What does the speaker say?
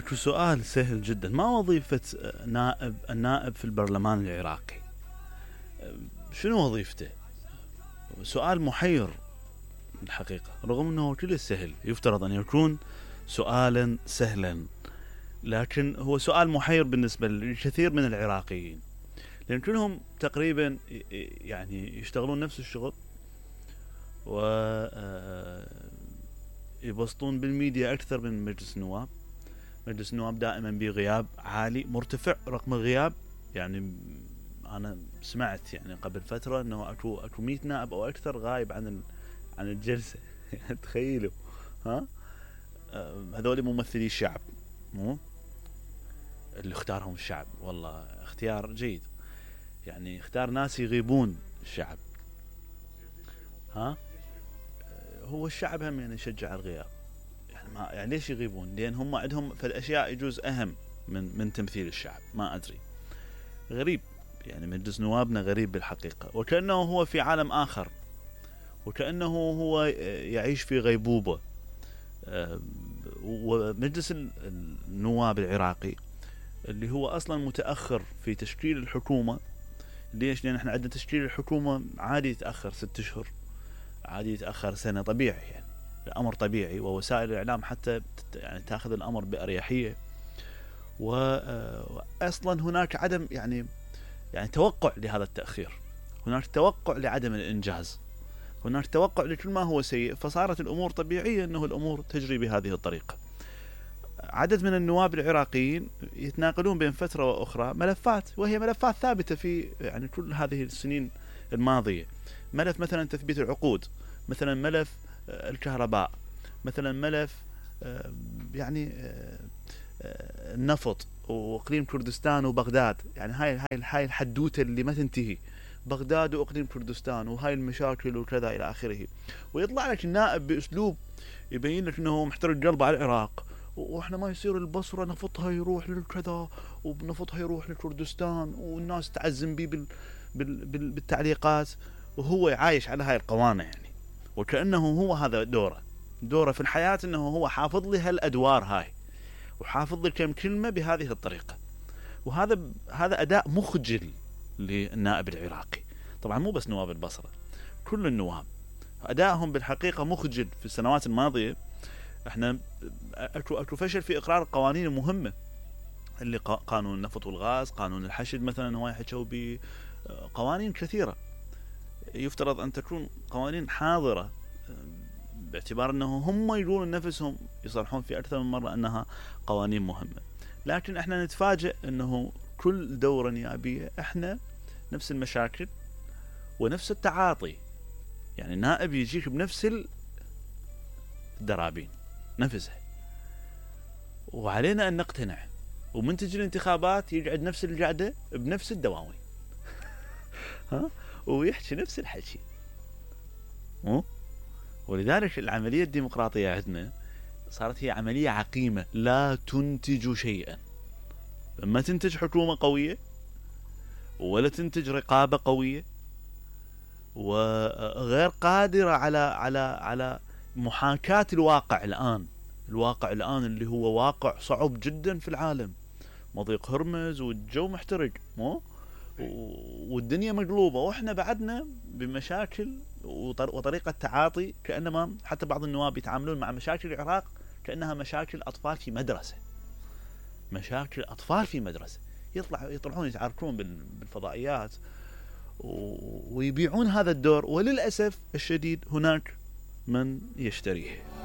اكو سؤال سهل جدا، ما وظيفة النائب في البرلمان العراقي؟ شنو وظيفته؟ سؤال محير الحقيقة، رغم انه كل سهل، يفترض ان يكون سؤالا سهلا، لكن هو سؤال محير بالنسبة للكثير من العراقيين، لان كلهم تقريبا يعني يشتغلون نفس الشغل، و يبسطون بالميديا اكثر من مجلس النواب. مجلس النواب دائما بغياب عالي مرتفع، رقم الغياب يعني انا سمعت يعني قبل فترة انه اكو 100 نائب او اكثر غايب عن الجلسة. تخيلوا، ها هذول ممثلي الشعب، مو اللي اختارهم الشعب. والله اختيار جيد، يعني اختار ناس يغيبون الشعب. ها هو الشعب هم يعني يشجع الغياب، يعني ليش يغيبون؟ لان هم عندهم في الاشياء يجوز اهم من تمثيل الشعب. ما ادري، غريب يعني مجلس نوابنا غريب بالحقيقة، وكأنه هو في عالم آخر، وكأنه هو يعيش في غيبوبة. ومجلس النواب العراقي اللي هو أصلا متأخر في تشكيل الحكومة. ليش؟ لأن احنا عندنا تشكيل الحكومة عادي يتأخر 6 أشهر، عادي يتأخر سنة، طبيعي يعني، الأمر طبيعي، ووسائل الإعلام حتى يعني تأخذ الأمر بأريحية. وأصلا هناك عدم يعني توقع لهذا التأخير، هناك توقع لعدم الإنجاز، هناك توقع لكل ما هو سيء، فصارت الأمور طبيعية أنه الأمور تجري بهذه الطريقة. عدد من النواب العراقيين يتناقلون بين فترة وأخرى ملفات، وهي ملفات ثابتة في يعني كل هذه السنين الماضية. ملف مثلا تثبيت العقود، مثلا ملف الكهرباء، مثلا ملف يعني النفط واقليم كردستان وبغداد. يعني هاي الحدوته اللي ما تنتهي، بغداد واقليم كردستان وهاي المشاكل وكذا الى اخره. ويطلع لك النائب باسلوب يبين لك انه محترق قلبه على العراق، واحنا ما يصير البصره نفطها يروح للكذا ونفطها يروح لكردستان، والناس تعزم بيه بالتعليقات، وهو عايش على هاي القوانه يعني. وكانه هو هذا دوره في الحياه، انه هو حافظ لي هالادوار هاي، وحافظ لي كم كلمة بهذه الطريقة. وهذا أداء مخجل للنائب العراقي. طبعا مو بس نواب البصرة، كل النواب أدائهم بالحقيقة مخجل. في السنوات الماضية احنا اكو فشل في إقرار القوانين المهمة، اللي قانون النفط والغاز، قانون الحشد مثلا، هو يحكوا بقوانين كثيرة يفترض أن تكون قوانين حاضرة، باعتبار أنه هم يقولون نفسهم يصرحون في أكثر من مرة أنها قوانين مهمة. لكن احنا نتفاجئ أنه كل دورة نيابية احنا نفس المشاكل ونفس التعاطي. يعني النائب يجيك بنفس الدرابين نفسها، وعلينا أن نقتنع، ومن تجي الانتخابات يقعد نفس القعدة بنفس الدواوين. ها، ويحكي نفس الحكي. ولذلك العملية الديمقراطية عندنا صارت هي عملية عقيمة لا تنتج شيئا. ما تنتج حكومة قوية، ولا تنتج رقابة قوية، وغير قادرة على محاكاة الواقع الآن اللي هو واقع صعب جدا في العالم. مضيق هرمز والجو محترق، والدنيا مقلوبة، واحنا بعدنا بمشاكل وطريقة تعاطي، كأنما حتى بعض النواب يتعاملون مع مشاكل العراق كأنها مشاكل أطفال في مدرسة. مشاكل أطفال في مدرسة، يطلعون يتعاركون بالفضائيات ويبيعون هذا الدور، وللأسف الشديد هناك من يشتريه.